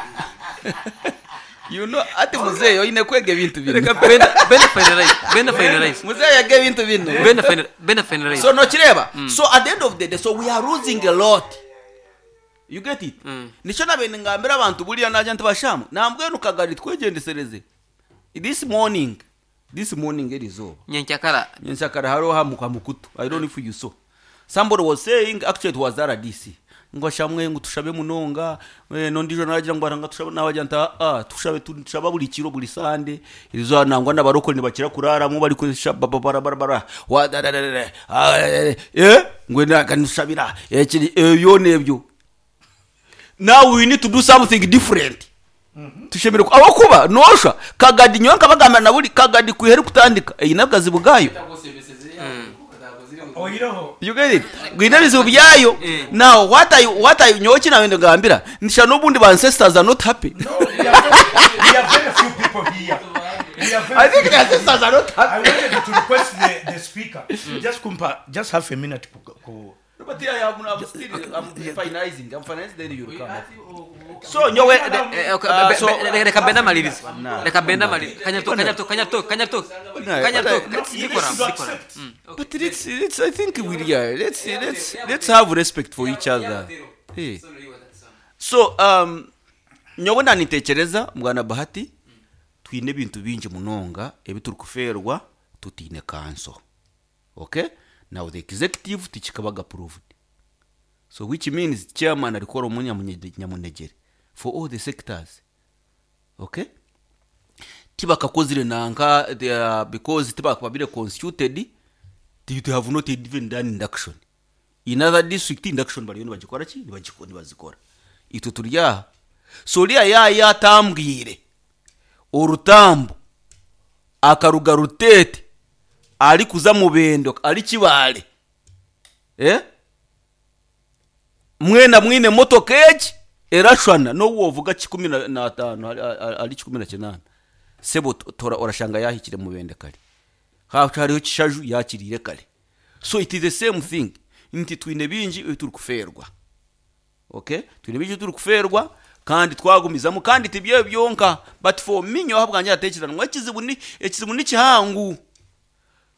you know ati muzeeyi oyine kwega ebintu bino. Reka Benda, Benda finalize. Benda finalize. Muzeeyi yaga ebintu bino. Benda finalize. Benda finalize. So nokireba. So at the end of the day, so we are losing a lot. You get it? Nikyo nabe ngambira abantu buriya najya ntibashamu. Nambwenu Kagari twegyendesereze. This morning, this morning erizoba. Nyenkyakara. Nyenkyakara hariho hamu kwa mukutu. I don't know if you saw. Somebody was saying actually it was R D C. Ngo shamwe ngo tushabe munonga eh, nondijo nagira ngo aranga tushabe nabagira nta ah tushabe tushaba buri kiro buri sande irizo nangwa n'abarokore ntibakira kuraramo bari kurisha bara bara bara wa da da da da ah, eh eh, ngo nakanushabira eh kiri eh, yo nebyo. Now we need to do something different. Tushemere ku- abakuba nosha Kagadi nyowe nkabagamba na buri Kagadi kwihera kutandika iyi nabwazi bwayo. Oyireho. You get it? Gwine bizibu byayo. Now what I what I nyowe kinabende ngambira nisha n'ubundi ba ancestors are not happy. No, we are very, we are very few people here. We are very I think the ancestors are not I happy. wanted to request the, the speaker just kumpa just half a minute ku, ku But yeah, I'm, I'm still I'm finalizing. I'm finalizing, then you come up. So nyowe Eh, okay, uh, be- so be- reka Benda malirize. Nah. Reka Benda malirize. Kanyato, kanyato, kanyato, kanyato. Kanyato. Let's- Bikora, let's bikora. accept. Mm. But let's let's I think we yeah, let's let's let's have respect for each other. Hey. So um nyowe nanitekereza mwana Bahati twine ebintu bingi munonga ebi turi kuferwa tutine council. Okay? Now the executive tikikabaga approved. So which means chairman arikora omunya nyamunegere for all the sectors. Okay? Tibakakozire nanka they are, because tibakababire constituted, they they have not even done induction. In other district induction bariyo nibagikora ki nibagiko nibazikora. Itwe turi aha. So uriya yaya atambwire orutambo akaruga Rutete ari kuza Mubendo ari Kibale eh mwena mwine motoka egi erashwana n'obu wovuga kikumi na- n'ataano ari- ari ari kikumi na kinaana sebo to- tora orashanga yahikire Mubende kare. Ha- hariho Kishaju yakiriire kare. So it is the same thing nti twine bingi ebi turi kuferwa. Okay, twine bingi turi kuferwa kandi twagumizamu kandi tibyo byonka. But for me nyowe habwanje atekereza ngu ekizibu ni ekizibu ni kihangu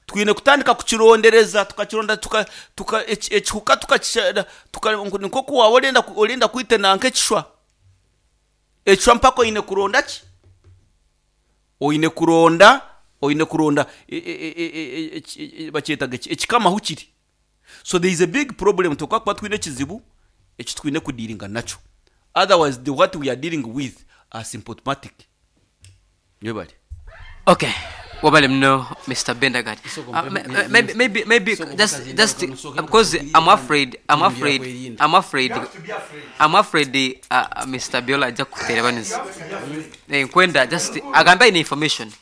twine kutandika kukirondereza tukakironda tuka tuka eki- ekihuka tukakisha tuka niko kuwaba orenda orenda kwitena nk'ekishwa ekishwa mpaka oine kuronda ki oine kuronda oine kuronda e- e- e- e- e- e- bakyetaga eki- ekikamaho kiri. So there is a big problem tukakuba twine ekizibu eki twine kudealinga nakyo. Otherwise the what we are dealing with are symptomatic. Yebale. Okay, wabale mno Mister Bendergard. Soko Uh, mpe- ma- maybe maybe maybe Soko just mkazi just ndako, uh, because I'm afraid I'm afraid Byakwerinda. I'm afraid You have to be afraid. I'm afraid uh, uh, Mister Biola ajja kuteera banizi eh, nkwenda just agambe ine information.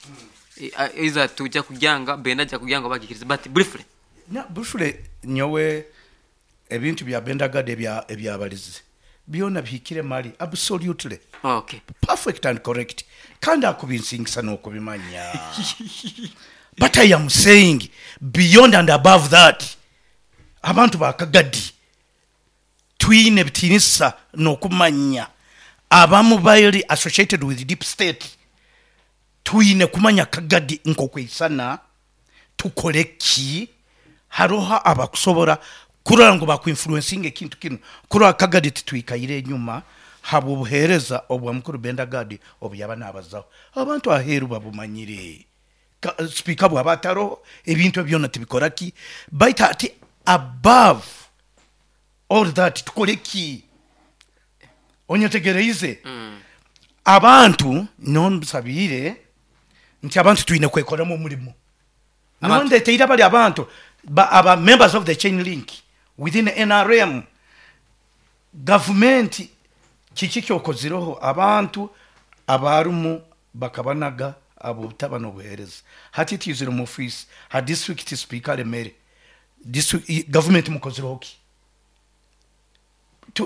Eh, uh, either tujja kujanga Benda ajja kujanga bagikiriza, but briefly. Na bushule nyowe ebintu bya Bendagade ebya ebyabalizi byona bihikire mali absolutely okay perfect and correct kandi akubinsingisa n'okubimanya. But I am saying beyond and above that abantu bakagadi twine bitinisa n'okumanya abamu bali associated with deep state. Twine kumanya Kagadi nkokwisana tukole ki haroho abakusobora kurora ngu bakuinfluencinga ekintu kinu kurora Kagadi titwikaire enyuma haba obuheereza obwa mukuru Bendagadi obu yaba nabazaho abantu aheeru babumanyire. Ka- speaker bwaba ataroho ebintu byona tibikora ki. Baitu ati above all that tukole ki onyetegereize abantu nonsabiire nti abantu twine kwekoramu omurimo. Abantu- Nondeteire abali abantu ba, aba members of the chain link within N R M gavumenti kiki kyokozireho abantu abarumu bakabanaga abo butaba n'obuheereza. Hati twizire mu office ha district speaker alemere district gavumenti mukozireho ki?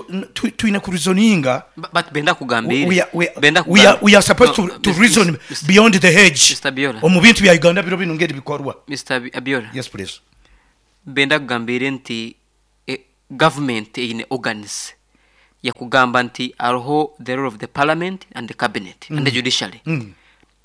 tu- tu- twine kureasoninga. Ba- but benda kugambire. we are, we, Benda we are, we are supposed No, to, to Mr. reason Mr. beyond the hedge. Mister Biola. Omu bintu bya Uganda biro bino ngeri bikorwa. Mister Abi- Abiola. Yes, please. Benda kugambire nti eh, government eine organs yakugamba nti aroho the role of the parliament and the cabinet mm. and the judiciary Mm.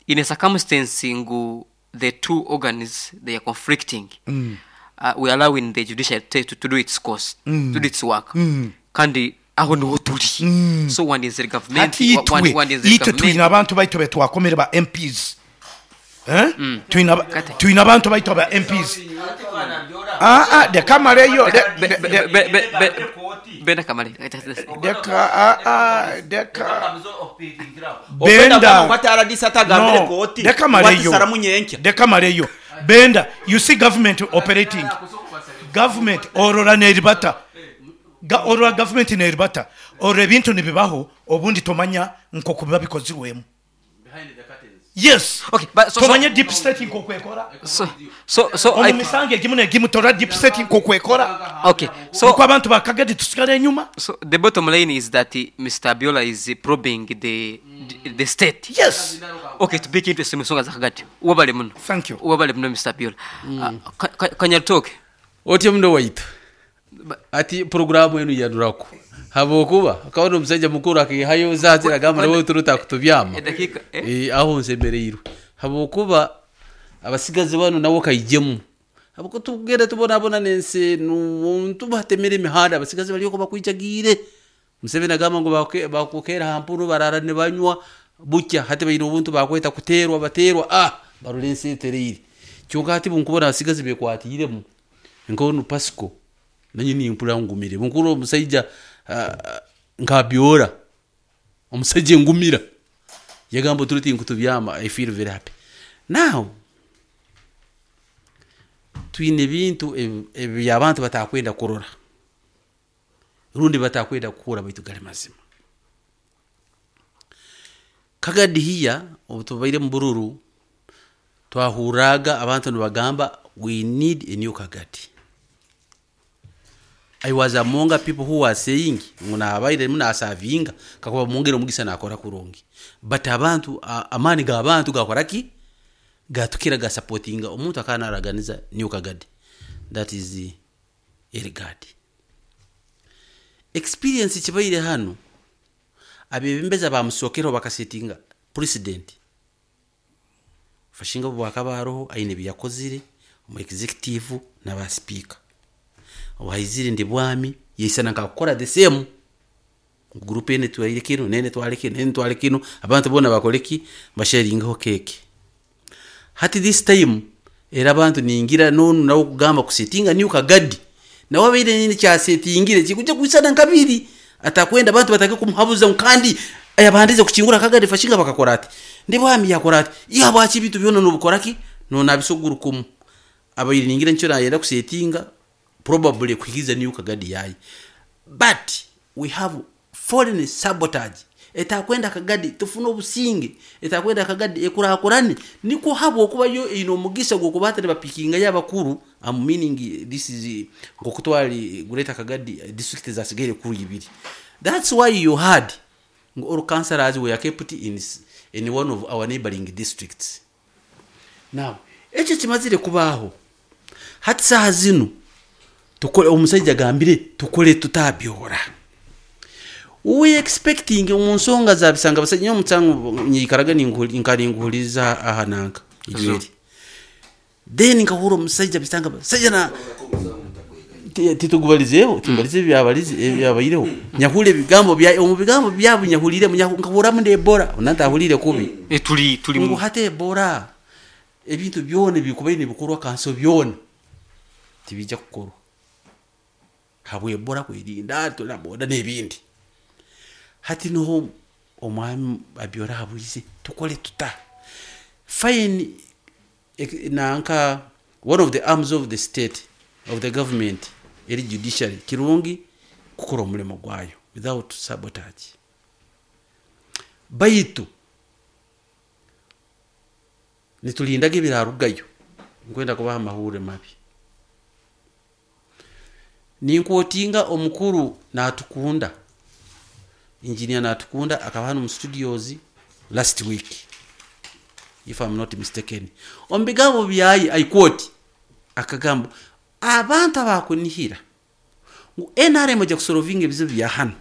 In a circumstance ngu the two organs they are conflicting, mm. uh, we allowing the judiciary to, to, to do its course, mm. to do its work, mm. kandi aho niho turi. mm. So one is the government, Hati wa- one, itwe one is the itwe government. twine abantu baitu betwakomere ba M Ps. Eh? Twine aba- Kati. Twine abantu baitu ba M Ps. Ah ah, dekamaleyo. Be- be- be- be- be- benda kamale. Deka, ah ah, deka. Benda Benda. R D C atagambire No, kooti deka maleyo. watisaramu nyenkya. Deka maleyo. Benda, you see government operating, government orora neribata. Ga, orora government neribata, orora ebintu nibibaho obundi tomanya nkoku biba bikozirwemu. Yes. Okay, but so- so- Tomanya deep state nkokwekora. so so so Omu I, misango egimu negimu tora deep state nkokwekora. Okay, so Nuko abantu bakagadi tusigara enyuma. So the bottom line is that uh, Mister Abiola is uh, probing the, the the state. Yes. Okay, tubike into ensonga za Kagadi. Wabale muno. Thank you. Wabale muno, Mister Abiola. Uh, Ka- Ka- Kanyaritoke. Otyo muno waitu ati porogaramu enu yanurako habwokuba akabona omusajja mukuru akihayo zazira agamba nawe turuta kutubyama. Edakika, eh? Eh, aho nsemereirwe habwokuba abasigazi bano nabo kaijemu habwo tugenda tubonabona nensi muntu batemera emihanda abasigazi bariyoko bakwijagiire. Museveni agamba ngu bakuke- bakukera hampuru barara nibanywa bukya hati baine obuntu bakweta kuterwa baterwa ah barora ensi etereire. Kyonka hati bunkubona abasigazi bekwatiiremu nkonu Pasco nanye nimpura ngumire bunkuru omusaija ah, nkabyora omusajja engumira yagamba turuti nkutubyama. I feel very happy now. Twine ebintu ebi- ebi abantu batakwenda kurora rundi batakwenda kukura baitu gali mazima. Kagadi hiya obu tubaire mu bururu twahuraga abantu nibagamba, "We need a new Kagadi." I was among people who were saying ngu nabaire munasavinga kakuba mungere omugisa nakora kurungi, but abantu a- amaani g'abantu gakora ki gatukira gasupportinga omuntu akaba naraganiza new Kagadi, that is the Elgad experience. Kibaire hano abebembeza bamusokeraho bakasetinga president fashinga bwakaba haroho aine byakozire omu executive n'aba speaker waizire ndi bwami yeisana nkakukora the same group ene twaire kino nene twale kino nene twale kino abantu bona bakole ki basharingaho keke. Hati this time era abantu ningira nonu nawo kugamba kusetinga new Kagadi nawe abaire nini kyasetingire kikuja kwisana nkabiri atakwenda abantu batake kumuhabuza kandi ayabandize kuchingura Kagadi fashinga bakakora ati ndi bwami yakora ati iya bwaki bitu byona nobukora ki nona abisugurukumu abaire ningira nicyo nayenda kusetinga probably kuhikiza new Kagadi yayi. But we have foreign sabotage etakwenda Kagadi tufune obusinge etakwenda Kagadi ekurakurane niko habo okuba yo ino omugisa gwokuba atari bapikinga y'abakuru. I'm meaning this is ngokutwali Greater Kagadi district zasigaire kuri ibiri. That's why you had ngo all councillors were kept in, s- in one of our neighboring districts. Now ekyo kimazire kubaho hati saha zino tukole omusajja agambire tukole tutabyora. We expecting mu nsonga za bisanga basajja nyo nyikaraga nkaninguhuliza aha nanka ijweri then nkahura omusajja bisanga basajja na Ti- titugubalizeeho timbalize ebyabalize ebyabaireho nyahura ebigambo bya omu bigambo byabo nyahurire nkahuramu ndebora nantahurire kubi. Eh, tuli tuli Ngu mu hati ebora ebintu byona ebikubaire nibikorwa kanso byona tibijja kukorwa habwe ebora kwerinda tulaboda n'ebindi. Hati niho omwami Abyora habwize tukole tuta fine. ek- nanka one of the arms of the state of the government eri judiciary kirungi kukora omulimo gwayo without sabotage baitu nitulindaga ebirarugayo nkwenda kubaha amahure mabi. Ninkwotinga omukuru Natukunda, engineer Natukunda, akaba hano mu studios last week, if I'm not mistaken. Omu bigambo byaye, I quote, akagamba abantu abakunihira ngu N R M ejya kusolvinga ebizibu bya hano.